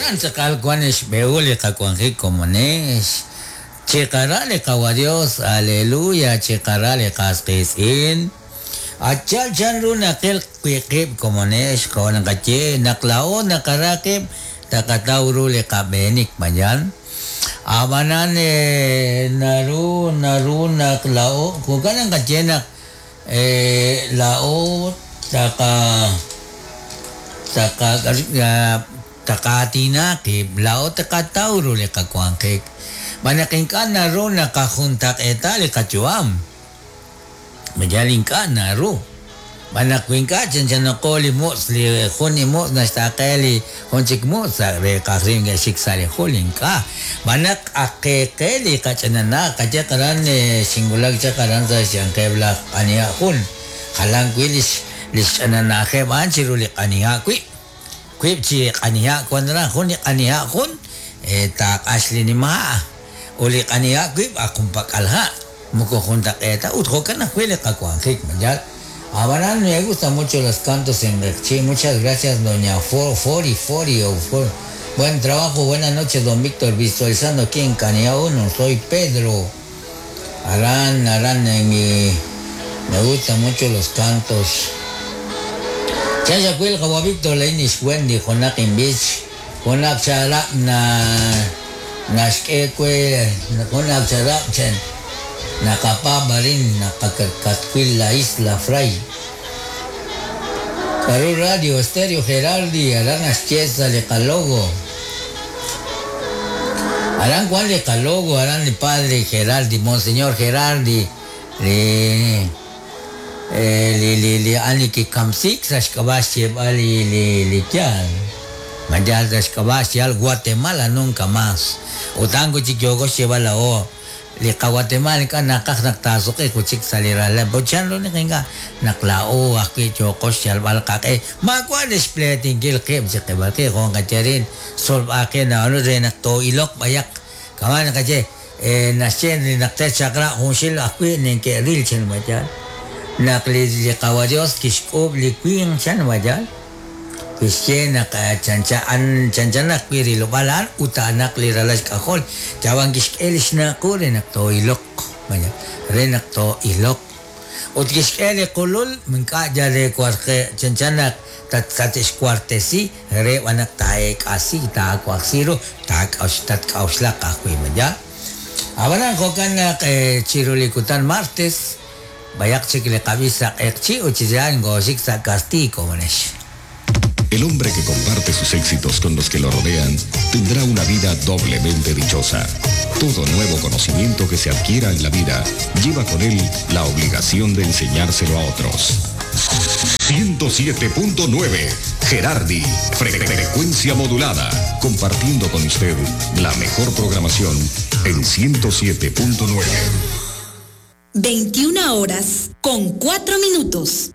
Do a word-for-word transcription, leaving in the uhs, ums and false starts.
Jo'kan tz'aqal wan xb'ehul li qawanjik komonex. Chiqara li qawa Dios, aleluya, chiqara li qas qiitz'in. Achal chanru naqil wi' qib' komonex, jo' naqaye naq laa'o naqara qib' taqataw ru li qab'eenik mañan. Ab'anan naru naru naq laa'o jo'kan naqaye naq laa'o taqa taqa taqaatina qib' laa'o taqataw ru li qawanjik. B'anaq ink'a' naru naqajuntaq'eeta li qayu'am. Mayal ink'a' naru. B'anaq ink'a' chanchanaqo li mutz' li jun li mutz' naxtaqe li jun chik mutz' re qajrin xik sa' li jul ink'a'. B'anaq aqeqe li qach'anana qaye qaran xinwulak chaq aran sa' xyanqeb' laj q'aniha' jun. Jalan wi' lix lix ch'ananajeb' a'an chiru li q'aniha' wi'. Wiib' chi q'aniha' wan aran jun li q'aniha' jun taaq'ax li nima' ut li q'aniha' wiib' aj junpak'al ha' moko juntaq'eeta ut jo'kan ajwi' li qawanjik mayal. Abanan me gustan mucho los cantos en Q'eqchi. Muchas gracias, doña Fori Fori. Buen trabajo, buenas noches, don Víctor. Visualizando aquí en Canea uno. Soy Pedro. Arán, Arán, en mi... Me gustan mucho los cantos. Chachacuil, Jawa Víctor, Leinish Wendy, Jonakin Beach. Jonak Charap na... Nashkekwe, Jonak Charap Chen. Nakapabarin, nakakatkwil la Isla Fray. Perú Radio, Estéreo Gerardi, Arán Aschiesa, Lecalogo. Arán Juan Lecalogo, Arán el padre Gerardi, Monseñor Gerardi, le le le le ani ki kamsik sashkabash li li li kyan. Mayal sashkabash al Guatemala nunca más. Otango chikyogo lleva la o. Li Guatemala ka nakak naktasok kuchik salirala bochan lo nikinga naklao aki chokos yalbal kake makwa displaying gil kip si kibaki kung kacharin solve akin na ano rin nakto ilok bayak kaman kache eh nasyen ni nakte chakra kung sil akwi ning ke ril chen majan nakli li kawa Dios kishkob li queen chen majan kisye nak chancha an chancha nak pirilubalan utanak liralas kakol jawang kiskelish na ko rin to ilok manya rin to ilok ut kiskeli kulul mingka jare kwarke chancha nak tat tat kwartesi re wanak taek asi ta kwaksiro ta kaus tat kausla kakwi manya abanan kokan nak chirulikutan martes bayak chikle kabisa ekchi uchijan gosik sa castigo manesh. El hombre que comparte sus éxitos con los que lo rodean tendrá una vida doblemente dichosa. Todo nuevo conocimiento que se adquiera en la vida lleva con él la obligación de enseñárselo a otros. ciento siete punto nueve Gerardi, frecuencia modulada, compartiendo con usted la mejor programación en ciento siete punto nueve. veintiuna horas con cuatro minutos.